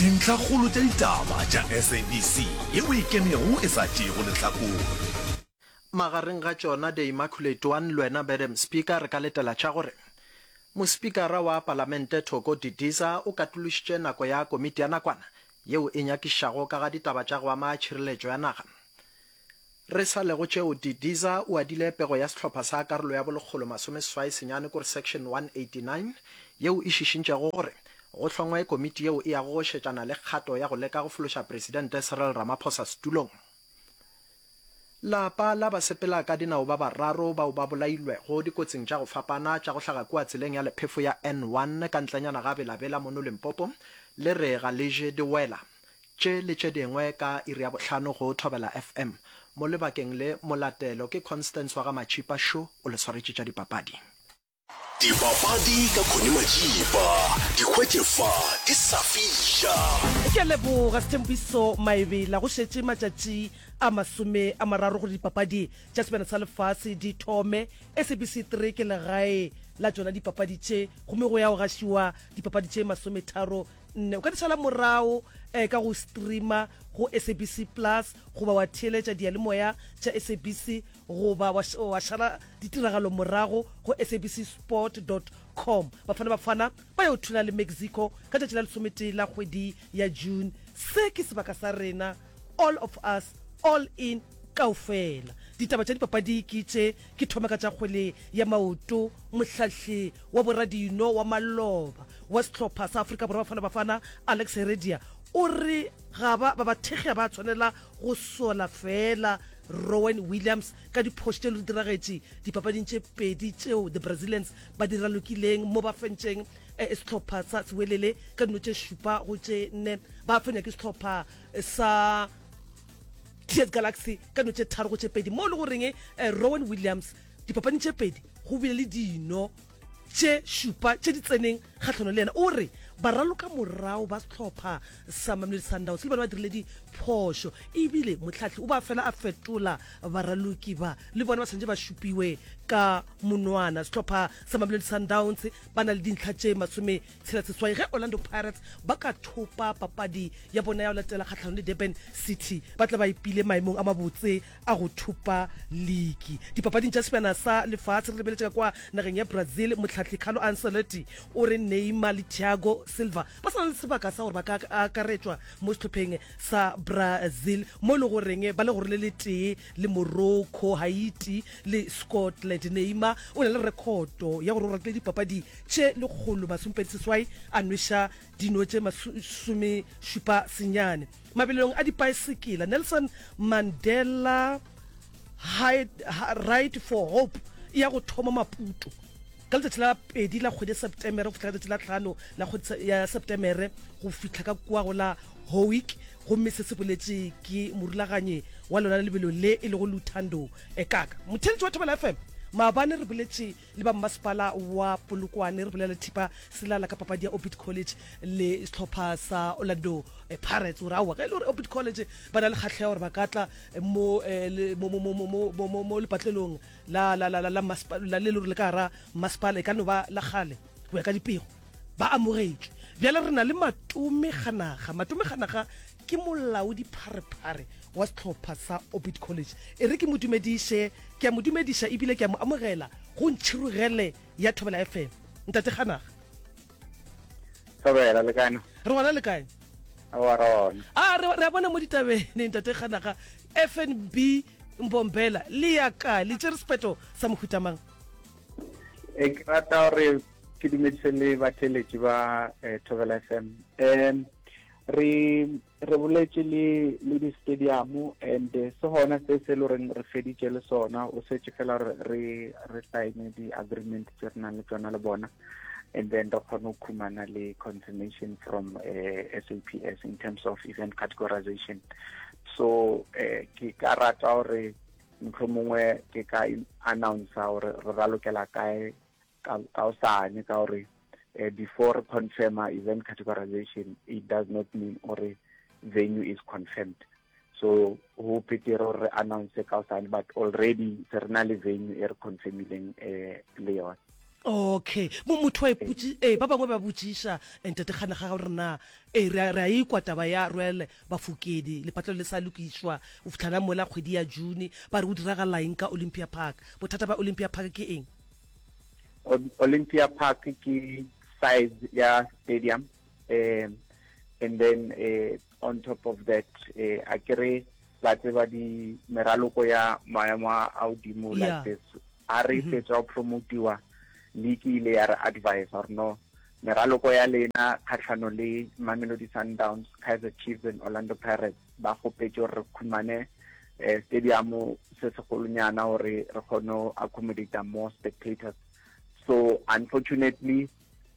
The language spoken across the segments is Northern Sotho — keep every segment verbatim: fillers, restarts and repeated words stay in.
Dintlhakgolo tša ditaba tša S A B C yeo e kenego e sa tšeego lehlakore. Magareng ga tšona The Immaculate One le wena, Madam Speaker, re ka letela tša gore mospikara wa Palamente Thoko Didiza o katološitše nako ya komiti ya nakwana yeo e nyakišago ka ga ditaba tša go ama tšhireletšo ya naga. Re sa lego tšeo, Didiza o adile pego ya sehlopha sa karolo ya bolekgolo masomeseswai senyane, kore section one eighty-nine, yeo e šišintšego gore go hlongwe komiti yeo e yago go šetšana le kgato ya go leka go fološa Presidente Cyril Ramaphosa setulong. Lapa la basepela ka dinao ba bararo bao ba bolailwego dikotsing tša go fapana tša go hlaga kua tseleng ya lephefo ya N one ka ntlenyana ga Belabela mono Limpopo le re ga le je di wela. Tše le tše dingwe ka iri ya bohlano go Thobela F M. Mo lebakeng le molatelo ke Constance wa ga Matšhipa šo o le swaretše tša dipapadi. Dipapadi ka Connie Majiba, di hwetše fa di sa fiša. Ke a leboga, Sethembiso Maebela. Go šetše matšatši a masome a mararo gore dipapadi tša Sebjana sa Lefase di thome. S A B C three ke legae la tšona dipapadi tše, gomme go ya go gašiwa dipapadi tše masometharo nne. O ka di šala morago um ka go streama go S A B C Plus, goba wa theeletša diyalemoya tša S A B C, goba wa wa šala ditiragalo morago go S A B C sport dot com. Bafana Bafana ba yo thula le Mexico ka tšatši la lesometee la kgwedi ya June. Se ke sebaka sa rena, all of us, all in, kaofela. Ditaba tša dipapadi ke tše. Ke thoma ka tša kgwele ya maoto. Mohlahli wa boradino wa maloba wa sehlopha sa Afrika Borwa, Bafana Bafana, Alex Heredia, o re ga ba ba bathekgi ba tshwanela go sola fela Rowan Williams ka diphošo tše le di diragetše dipapading tše pedi tšeo the Brazilians ba di ralokileng, mo ba fentšeng eh, sehlopha sa Sewelele ka dino tše šupa go tše nne, ba fenya ke sehlopha sa T S Galaxy ka dino tše tharo go tše pedi, mo e le goreng eh, Rowan Williams dipapading tše pedi go bile le dino tše šupa tše di tseneng kgatlhanong le yena. O re baraloka morago ba sehlopha sa Mamelodi Sundowns le bona ba dirile diphošo, ebile motlhahli o ba fela a fetola baraloki ba, le bona ba tshwanetse ba šupiwe ka monwana. Sehlopha sa Mamelodi Sundowns ba na le dintlha tše masome tshela seswai. Ge Orlando Pirates ba ka thopa papadi ya bona ya go latela kgatlhanong le Durban City, ba tla ba ipile maemong a mabotse a go thopa league. Dipapading tša Sebjana sa Lefase, re lebeletše ka kwa nageng ya Brazil, motlhahli Carlo Ancelotti o re Neymar le Thiago Silva ba sa na le sebaka sa gore ba ka akaretšwa mo sehlopheng sa Brazil, mo e le goreng ba le gore le letee le Morocco, Haiti le Scotland. Neymar o na le rekhoto ya gore o ratile dipapadi tše lekgolo masomepedi seswai, a nweša dino tše masome šupa senyane. Mabelong a dipaesekela, Nelson Mandela Ride for Hope e ya go thoma Maputo ka letšatši la pedi la kgwedi ya Septemere go fihla ka letšatši la tlhano la kgwedi ya Septemere go fihla ka kua go la Howick, gomme se se boletše ke morulaganyi wa lona lebelo le, e lego Luthando Ekaka. Motheletši wa Thobela F M, maabane re boletše le ba mmasepala wa Polokwane, re bolela Thipa Selala ka papadi ya Orbit College le sehlopha sa Orlando eh, Pirates, gore aowa, ge e le gore Orbit College ba na le kgatlhego gore ba ka tla mo eh, le- mo mo mo mo mo mo mo mo lepatlelong la la la la la maspa- la le le gore le ka gara masepala, e ka no ba la kgale go ya ka dipego, ba amogetšwe. Bjale re na le Matome Ganaga. Matome Ganaga ke molaodi pharephare wa sehlopha sa Orbit College. E re ke mo dumediše. Ke a mo dumediša ebile ke a mo amogela go Ntšhirogele ya Thobela F M, ntate Ganaga. Thobela, le kae? Re gona, le kae? Wa rona. A re re a bona mo ditabeng, ntate Ganaga, F N B Mbombela le ya kae? Le tšere sephetho sa mohutamang? E ke rata gore ke dumedise le batheletši ba eh, Thobela F M. Um re re boletše le le di-stadium and eh, se gona se se le goreng re feditše le sona, o setse fela re re re sign di-agreement tse re nang le tsona le bona, and then re kgone go khumana le confirmation from uh, S A P S in terms of event categorization. So eh, ke ka rata gore mohlomongwe ke ka announce gore re ralokela kae ka kaosane, ka gore eh, before re confirm event categorization, it does not mean gore venue is confirmed. So ho betere gore re announce kaosane, but already se re na le venue e re confirmileng eh, le yona. Okay, mo motho wa ipotši, ee, ba bangwe ba botšiša Ntate Kganakga gore na, ee, re a, re a ikwa taba ya Royal Bafokeng, lepatlelo le sa lokišwa go fihla na mola kgwedi ya June, ba re go diragala eng ka Olympia Park? Bothata bja Olympia Park ke eng? Olympia Park ke size ya stadium, um and then uh, on top of that, uh, a ke re ba tseba di meraloko ya maemo a godimo like Yeah. this. A re fetsa go promotiwa, league ile ya re advise gore no, meraloko ya lena kgatlhano le Mamelodi Sundowns, Kaizer Chiefs and Orlando Pirates, ba kgopetse gore re khumane eh, stadium se segolonyana gore re kgone go accommodate more spectators. So unfortunately,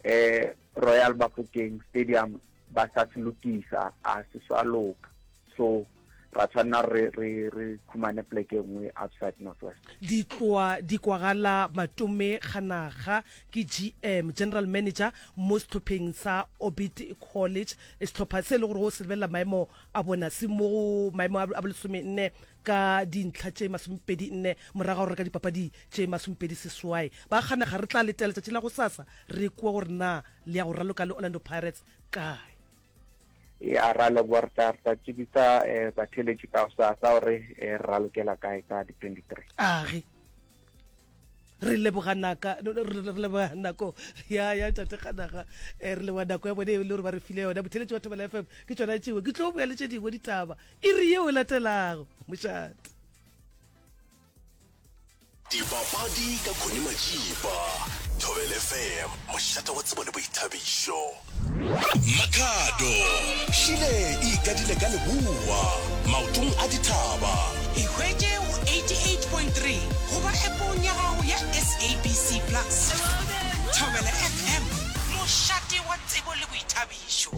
eh, Royal Bafokeng Stadium ba sa se lokisa, a se sa loka, so ra tshwanela re re re khumane pleke e nngwe outside Northwest. Di tloa di kwagala Matome Kganaga ke G M, General Manager, mo sehlopheng sa Orbit College, sehlopha se e le gore go se lebelela maemo a bona se mo go maemo a bolesome nne ka dintlha tše masomepedi nne morago ga go reka dipapadi tše masomepedi seswai. Ba Kganaga, re tla letela letšatši la gosasa re kwe gore na le ya go raloka le Orlando Pirates kae. Ya, ra leboha, re tla re tla tsebisa eh, batheeletši ka gosasa gore eh, re ralokela kae ka di twenty-three. Age re leboga naka, re re leboga nako ya ya Tate Kganaga, eh, re leboga nako ya bone e le gore ba re file yona. Botheletši wa Thobela F M, ke tšona tšeo ke tlo boya le tše dingwe ditaba iri yeo e latelago. Mošate. Dipapadi ka Connie Majiba. Thobela F M, mošate wa tsebo le boithabišo. Makhado, Šile e ikadile ka leboa, maotong a dithaba. Ihwetše go eighty-eight point three goba appong ya gago ya S A B C Plus. Thobela F M, mošate wa tsebo le boithabišo.